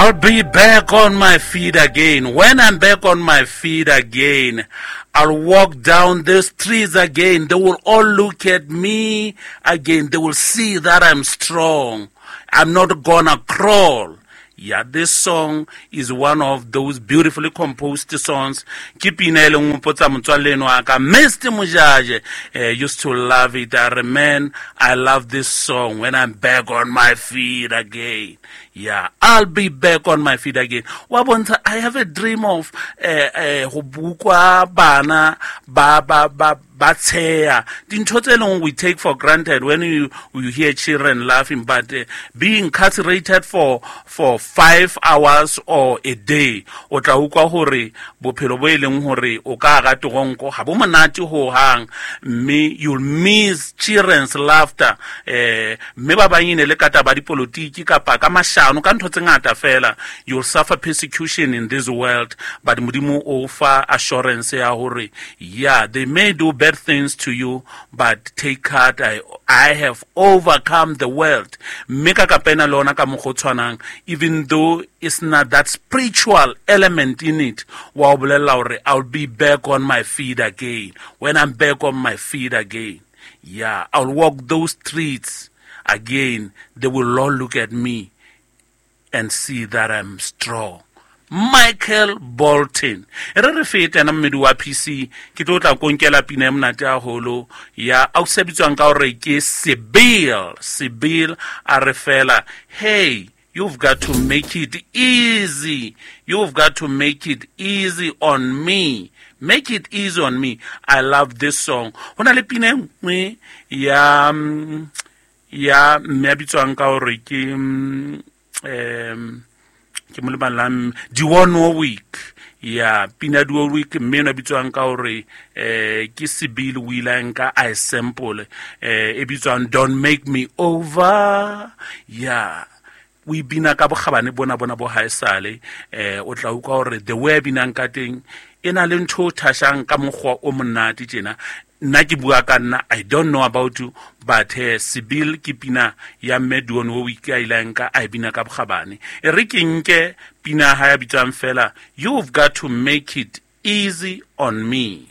I'll be back on my feet again. When I'm back on my feet again, I'll walk down the streets again. They will all look at me again. They will see that I'm strong. I'm not gonna crawl. Yeah, this song is one of those beautifully composed songs. Ke pina e leng opotsa motswalle eno wa ka Mr. Mojaje used to love it. I man, I love this song when I'm back on my feet again. Yeah, I'll be back on my feet again. Wa bontsha, I have a dream of go bukwa bana ba ba ba ba tsheya dintho tse leng we take for granted when you hear children laughing, but being incarcerated for 5 hours or a day, o tla utlwa hore bophelo bo e leng hore o ka hara toronko ha bo monate ho hang, mme you'll miss children's laughter. Mme ba bang e ne le ka taba dipolotiki kapa ka mashano, ka ntho tse ngata fela. You'll suffer persecution in this world, but Modimo o fa assurance ya hore, yeah, they may do bad things to you, but take heart, I have overcome the world. Mme ka kapena le ona ka mokgwa o tshwanang, even though it's not that spiritual element in it, wa o bolella hore I'll be back on my feet again. When I'm back on my feet again, yeah, I'll walk those streets again. They will all look at me and see that I'm strong. Michael Bolton. E re re fete ena mmedi wa PC, ke tlo tla konkela pina e monate haholo ya ausi a bitswang ka hore ke Sibyl. Sibyl a re fela, hey, you've got to make it easy. You've got to make it easy on me. Make it easy on me. I love this song. Ho na le pina e nngwe ya mme a bitswang ka hore ke mo lebalang, Dionne Warwick. Ya, pina Dionne Warwick, mme ena bitswang ka hore ke Sibyl o ile a nka a e sample, e bitswang Don't Make Me Over. Ya, o e bina ka bokgabane bona bona bo haesale. O tla utlwa hore the way a binang ka teng e na le ntho o thashang ka mokgwa o monate tjena. Nna ke bua ka nna, I don't know about you, but Sibyl ke pina ya mme Dionne Warwick a ile a nka a e bina ka bokgabane. E re ke nke pina ha ya bitswang fela, You've Got to Make It Easy on Me.